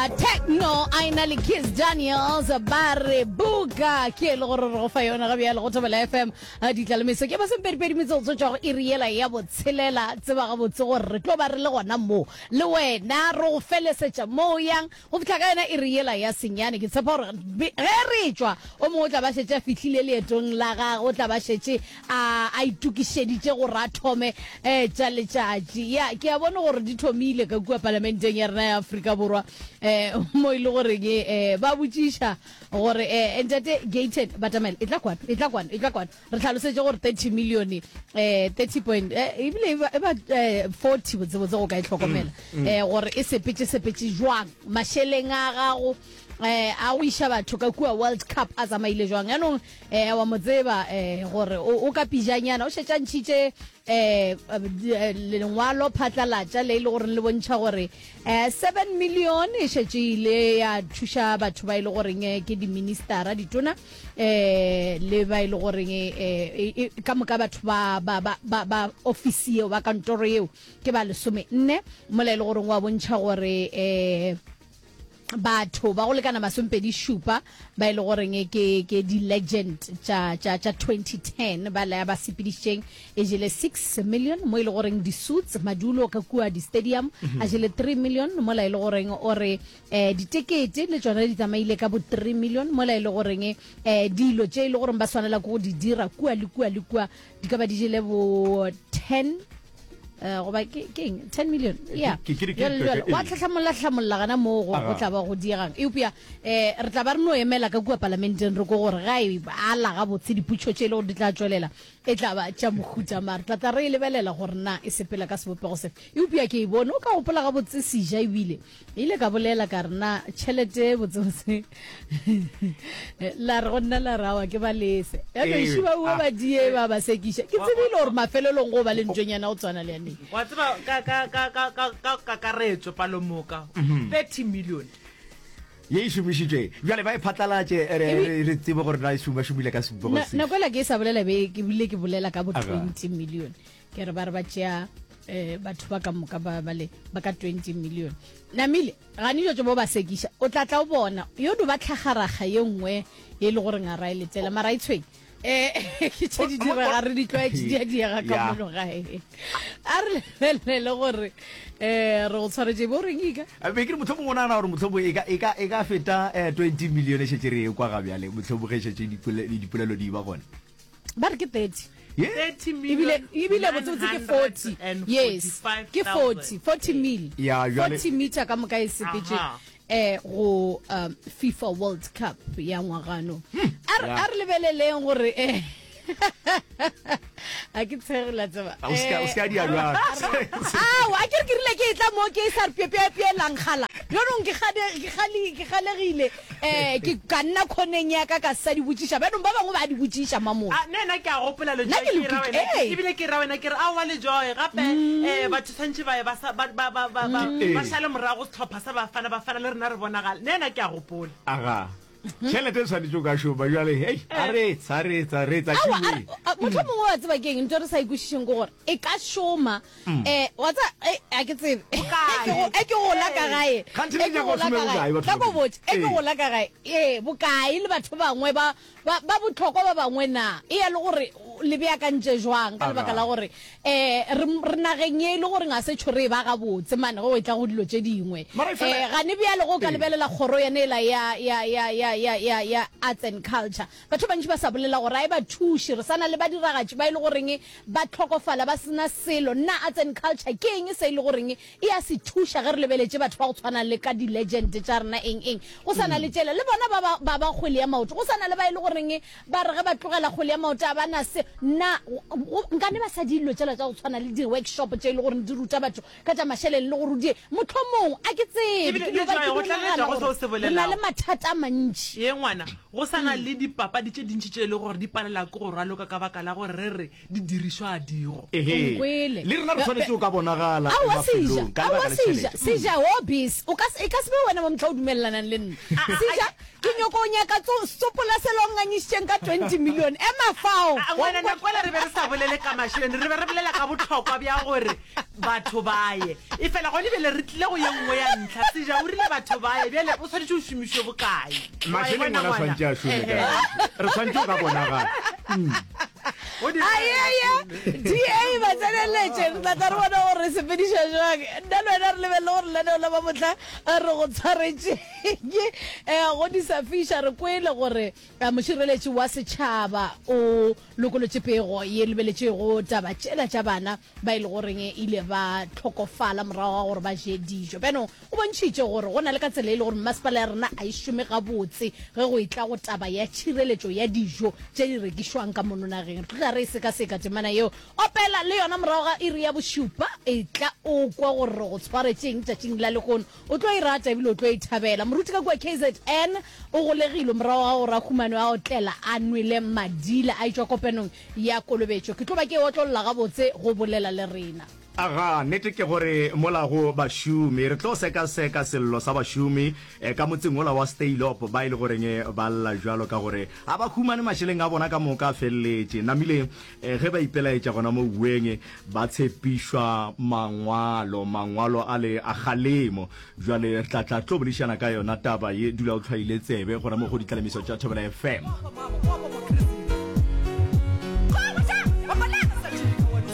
Techno a ena le Kiss Daniels ba re buka ke e le gore re go fa yona ga bjale go Thobela FM ditlalemeso ke masomepedipedi metsotso tšwa go iri yela ya botshelela tseba gabotse gore re tlo ba re le gona mo le wena re go felesetša mo o yang go fihla ka yona iri yela ya senyane. Ke tshepa gore ge re tšwa o mongwe o tla ba šetše a fihlile leetong la gagwe o tla ba šetše a a itokišeditše gore a thome um tša letšatši. Ya, ke a bone gore di thomile ka kua palamenteng ya rena ya Afrika Borwa um mo e le goreng um ba botšiša gore um ntate Gayton batamela e tla kwano e tla kwano e tla kwano re hlalosetše gore 30 million um 30 point eh, ebile e ba e ba, eh, 40 botsebotse go ka e hlokomela um gore e sepetše sepetše jwang mašeleng a gago eh a go iša batho ka kua World Cup a tsamaile jwang yanong eh wa mo tseba eh gore o ka pijanyana o šetše a ntšhitše eh lengwalo phatlalatša le e le gore le bontšha gore eh 7 million e šetše ile ya thuša batho ba e le goreng eh, ke diministara ditona eh le ba e le goreng eh ka moka batho ba ba ba ba ofisi yeo ba kantoro yeo ke ba lesome nne mola e le goreng wa bontšha gore eh batho ba go lekana masompedi šupa ba e le goreng ke ke di-legend tša tša tša 2010 ba la ba sepedišitšeng e jele 6 million mo e le goreng di-suits madulo ka kua di-stadium a jele 3 million mola e le goreng o re um ditekete le tšona di tsamaile ka bo 3 million mola e le goreng um dilo tše e le goreng ba swanela ke go di dira kua le kua le kua di ka ba di jele bo 10 eh, goba ke ke eng 10 million ya Ke- ke- ke- jalo jalo ke- wa tlhahlamolla hlamolla gana moo go go tla ba go diegang eupša um re tla ba re no emela ka kua palamenteng re ko gore ga e ala gabotse diputšo tše e le gore di tla tšwelela e tla ba tša mohuta mare tla tla re e lebelela gore na e sepela ka sebopego sefe eupša ke e bone o ka gopola gabotse seja ebile Ile ka bolela ka re na tšhelete botsebotse la re go nna la re awa ke ba lese ya no Ee, šiba ua ah. ba die ba ba sekiša ke tsebile gore mafelelong go ba le ntšonyana go tshwana le yaneng wa tseba ka ka ka ka ka ka kakaretso palomoka 30 million ye e šomišitšwe bjale ba e phatlalatše re Ebi- re- re tsebe gore na e šoma šomile ka sebopego Na- sefe. nako ela ke e sa bolela be ke bile ke bolela ka bo Aga. 20 million Ke re ba re ba tšea eh, batho ba ka moka ba ba le ba ka 20 million. Namile gane jo tšo bo ba sekiša o tla tla o bona yo do ba tlhagaraga ye nngwe ye le gore ngara e letela mara e tshweng eh ke tše di direga re di tlwaetše di a diega ka Ya. mono gae a re lebelele gore eh re go tshwaretše bo reng ika A be ke re mohlomongwe o nagana gore mohlomongwe e ka, e ka, e ka feta eh, 20 million e šetše re e kwa ga bjale mohlomongwe ge šetše dipole- dipolelo di ba gona. Ba re ke 30. Ye? 30 Ebile million ebile botsebotse ke 40. Yes. Ke 40, 40 mil. Ya, jwale- 40 meter ka moka e sepetše Aha. eh go um, FIFA World Cup ya ngwagano. A re Ya. a re lebeleleng gore eh a ke tshege la tseba. A o se ka- o se ka Eh, dia bjalo. Ao, a ke re ke rile ke e tla mo ke e sa re piepiepielang gala. Bjanong ke gade ke gale ke galegile eh ke ka nna khoneng ya ka ka sa di botšiša. Bjanong ba bangwe ba di botšiša mamola. A nna nna ke a gopola Nna Lejoe ke ke ra lokile, wena ee. ebile ke ra wena ke re aowa Lejoe gape eh batho tshwantše ba ye ba sa ba ba ba ba ba Ee. ba šale morago sehlopha sa Bafana Bafana le rena re bonagale nna nna ke a gopola. Aga. Tšhelete e swanetše o ka šoma bjale. Hei, a re etsa, a re etsa, re etsa Aowa, a tšhiweng. re- a- mohlomongwe wa tseba ke eng ntho e re sa e kwešišeng ke gore e ka šoma um wa tseba eh, a ke tsebe Bokae? E ke go- e ke gola ka gae Kganthe le e ke nyaka go gola šome ka gae bokae, batho tla ko ba botse e ke Ee. gola ka gae ee bokae le batho bangwe ba ba ba bohlokwa ba bangwe na e ya le gore le beakantše jwang ka lebaka Aga. la gore um re re nageng ye e le gore ga se tšho re e ba gabotse mane ge o etla go dilo tše dingwe Mara e fela- um gane bjale go ka Ee. lebelela kgoro yane ela ya ya ya ya ya ya ya arts and culture batho ba bantši ba sa bolela gore a e ba thuše re sa na le badiragatši ba e le goreng ba hlokofala ba sena selo nna arts and culture ke eng se e le goreng e a se thuša ge re lebeletše batho ba go tshwana le ka di-legend tša rena eng eng go sa na le tšela le bona ba ba ba ba kgwele ya maoto go sa na le ba e le goreng ba re ge ba tlogela kgwele ya maoto a ba na se na nkane ba sa dilo tšela tša go tshwana le di-workshop tše e le goreng di ruta batho ka tša mašeleng le gore die mohlomong a ke tsebe Ebile ke no le ba Joy, ke go no tlaleletša nagana go seo se gore re na le bolelago. mathata a mantši Ye ngwana, go sa na le dipapadi tše dintši tše e le gore di palela ke go raloka ka baka la gore re re di dirišwa a digo. Ehe. Nkwele. Le rena re swanetše go ka bonagala Aowa Seja, mafelong ka aowa lebaka la Seja, tšhelete. Seja, hobbies. O ka se, e ka se be wena wa mohla o dumelelanang le nna. Seja, ke. Ke nyoko o nyaka tso sopola sela o ngangišitšeng ka 20 million. Ema fao. A, ngwana, nako ela re be re sa bolele ka mašeleng, re be re bolela ka bohlokwa bja gore batho ba ye. Efela gone bjale re tlile go ye nngwe ya ntlha. Seja o rile batho ba ye, bjale o swanetše o šomišwe bokae? Wa e Mašeleng bona ona ngwana? swantše a šome Ehe. ka. Re swantše go ka bonagala. Go direga Ayeye, DA ba tseneletše, re tla tla re bona gore re sepediša jwang. Nna le wena re lebelele gore lenaneo la mamohla re go tshwaretšeng. Go di sa fiša, re kwele gore mošireletši wa setšhaba o lokolotše pego ye lebeletšego taba tšela tša bana ba e le goreng ile ba hlokofala morago ga gore ba je dijo. Bjano o bontšhitše gore go na le ka tsela e le gore mmasepala ya rena a e šome gabotse ge go etla go taba ya tšhireletšo ya dijo tše di rekišwang ka mono nageng. Re tlo tla re e sekaseka temana yeo. Opela le yona morago ga iri ya bošupa. Etla o kwe gore re go tshwaretšeng tšatšing la lehono. O tlo e rata ebile o tlo e thabela. Moruti ka kua KZN o golegilwe morago ga gore a humanwe a otlela a nwele madila a etšwa kopanong ya kolobetšo. Ke tlo ba ke e otlolla gabotse go bolela le rena. Aga, nnete ke gore mola go bašomi, re tlo sekaseka sello sa bašomi ka motseng wola wa Steilop ba e le goreng ba lla bjalo ka gore ga ba humane mašeleng a bona ka moka a feleletše. Namile ge ba ipelaetša gona mo uweng ba tshepišwa mangwalo, mangwalo ale a kgalemo. Bjale re tla tla tlo boledišana ka yona taba ye, dula o hlwaile tsebe gona mo go Ditlalemiso tša Thobela FM.